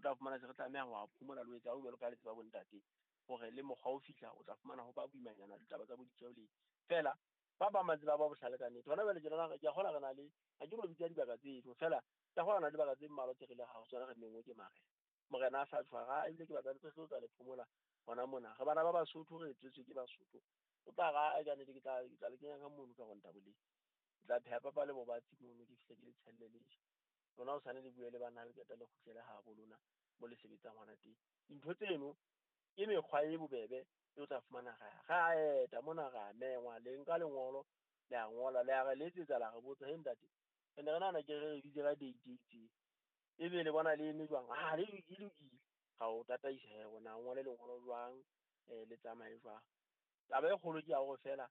tla fumana se re tlameha ho a phomola le ho etsa jwalo ka le tseba bontate hore le mokgwa o fihla o tla fumana ho ba boimanyana ditaba tsa bo ditjeo le fela ba bang ba tseba ba bohlale ka nnete. Hona jwale tjenana ke a kgolwa re na le ha ke no bitsa dibaka tseno fela ke a kgolwa re na le dibaka tse mmalwa tse re ileng ha ho tsona re menngwe ke marena. Morena a sa tshwara ebile ke batla le tlo tla le phomola hona mona. Re bana ba Basotho re tswetswe ke Basotho. O tla ra ka nnete ke tla le kenya ka mono ka rontaboleng. Ke tla pheha papa le bobatsi mono ke fihle ke le tshelle le je. Lona hosane le bue le bana le qeta le kgutlele habo lona mo le sebetsang hona teng. Dintho tseno ke mekgwa e bobebe e o tla fumana ra eta mona ra mengwa le nka lengolo le a ngola le a re letsetsa la re botsa he ntate re ne re nahana ke re bitse ka date e itseng ebe le bona le eme jwang ha le lokile ga o tataisa he ona ngole lengolo jwang le tsamaye jwang. Taba e kgolo ke ya hore fela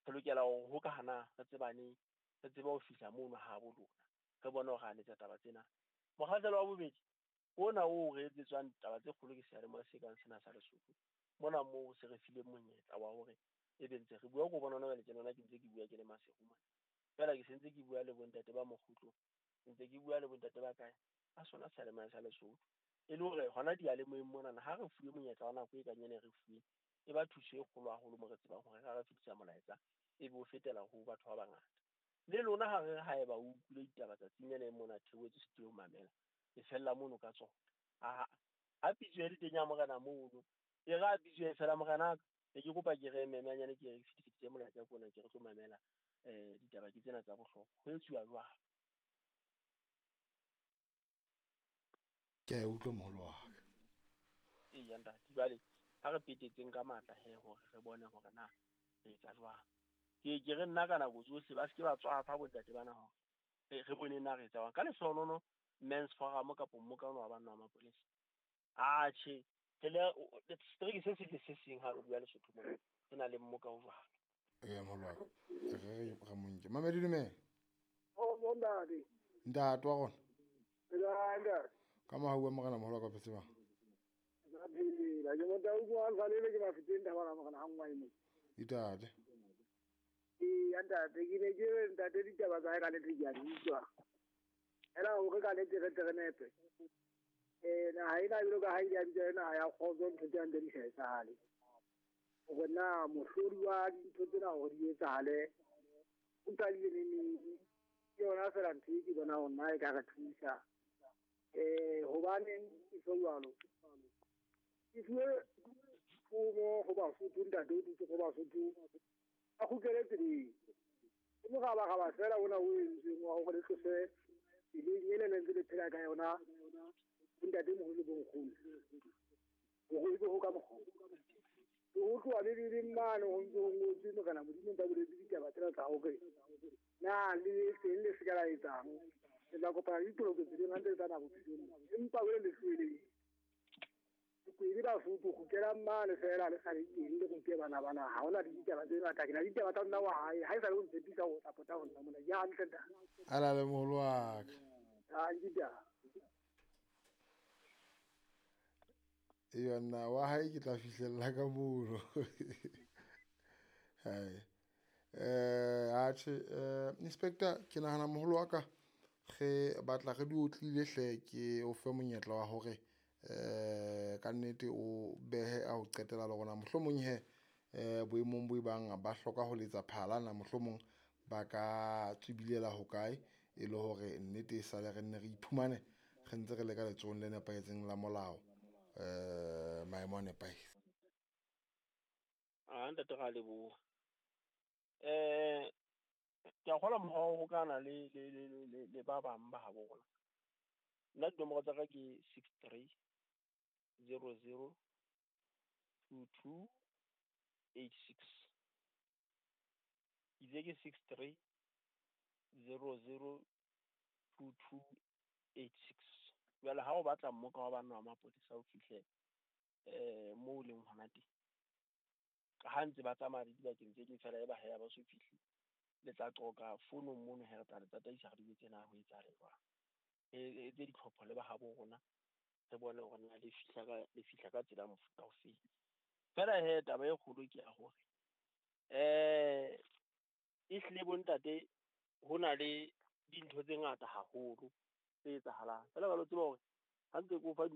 re lokela ho hokahana re tsebaneng re tsebe ho fihla mono habo lona re bone hore a letsa taba tsena. Mokgahlelo wa bobedi ona o re etsetswang taba tse kgolo ke seyalemoya se kang sena sa Lesotho mona moo se re fileng monyetla wa hore ebe ntse re bua ko bona hona jwale tjenana ke ntse ke bua ke le Maseru mona fela ke sentse ke bua le bontate ba Mokgutlo ntse ke bua le bontate ba kae ka sona seyalemoya sa Lesotho e le hore hona diyalemoyeng monana ha re fuwe monyetla wa nako e kang ena e re fuweng e ba thuso e kgolo haholo mo re tsebang hore ra re fetisa molaetsa e be o fetela ho batho ba bangata. Le lona ha re haeba o utlwile ditaba tsatsing lena mona theohetse studio mamela e fella mono ka tsona. Ha pitso e le teng ya morena mono e re a pitso e fela morena ke kopa ke re memeanyane ke re fitise molaetsa kona ke re tlo mamela ditaba ke tsena tsa bohlokwa ho etsuwa jwang. Ke a utlwa moholo wa ka. Eya ntate jwale ha re petetseng ka matla he hore re bone hore na re etsa jwang. Ke re nna ka nako tsohle ba se ke ba tswafa bontate bana hore re bone na re etsa jwang. Ka lehlohonolo Men's Forum kapa mmokano wa banna wa mapolesa atjhe setereke se seng le se seng ha re bua Lesotho mona re na le mmoka o jwalo. Eya moholo wa ka re monke Mamedi dumela. O ntate. Ntate wa rona. Ntate. Ka mohau wa morena moholo wa ka phetse bang. Ke motho o buang salele ke Mafeteng thabana morena ha nngwe mo. Ntate. Ee ntate ke ne ke re ntate ditaba tsa hae ka nnete ke a di utlwa. Ela hore ka nnete re tle re nepe. Naha ena jwalo ka ha ile ya bitswa naha ya kgotso ntho tse hantle di sa etsahale. Hore na mohlodi wa dintho tsena hore di etsahale o qadile neneng ke yona fela ntho e ke bona hore nna e ka re thusa. Hobaneng e so jwalo ke fuwe thomo ho Basotho ntate o dutse ho Basotho a kgutlele tseleng. Ke morabaraba fela ona o entsweng wa hore le tlose tseleng ele le ntse le phela ka yona bontate moholo le bonkgono hore ebe ho ka mokgwa ho tloha Bibeleng mane ho ntse ho ngotswe morena Modimo ntse a boletse ditaba tsena tsa hore na le teng le se ka la etsang le tla kopana le ditoloko tseleng ha ntse le tsamaya bophelong empa wele le tlohele Kwedi Basotho kgutlelang mane fela le sale teng le rute bana bana ha hona le ditaba tse ngata ke na le ditaba tsa nna wa hae ha e sa le o ntshepisa ho tla pota ho nna mona ke hantle ntate. Ala le moholo wa ka. Ha ke taba. Eya nna wa hae ke tla fihlella ka mono. Hai. Atjhe inspector ke nahana moholo wa ka re batla re di otlile hle ke o fe monyetla wa hore ka nnete o behe a ho qetela le rona mohlomong he boemong bo bang ba hloka ho letsa phala na mohlomong ba ka tswibilela hokae e le hore nnete e sale re nne re iphumane re ntse re le ka letsohong le nepahetseng la molao maemo a nepahetse. A ntate ra leboha. Ke a kgolwa mokgwa wa ho hokahana le ba bang ba habo rona. Nna dinomoro tsa ka ke 63 00 22 86. Itse ke 63 00 22 86. Jwale ha o batla mmoka wa banna wa mapolesa o fihle moo leng hona teng. Ka ha ntse ba tsamaya le dibakeng tse ding fela e ba ha ba so fihle le tla qoka founong mono he re tla le tataisa re di tsena ho etsahale jwang. E etse ditlhopho le ba habo rona re bone hore na le fihla ka tsela mofuta ofe. Fela he taba e kgolo ke ya hore e hlile bontate ho na le dintho tse ngata haholo tse etsahalang. Fela ba lo tseba hore ha ntse ke o fa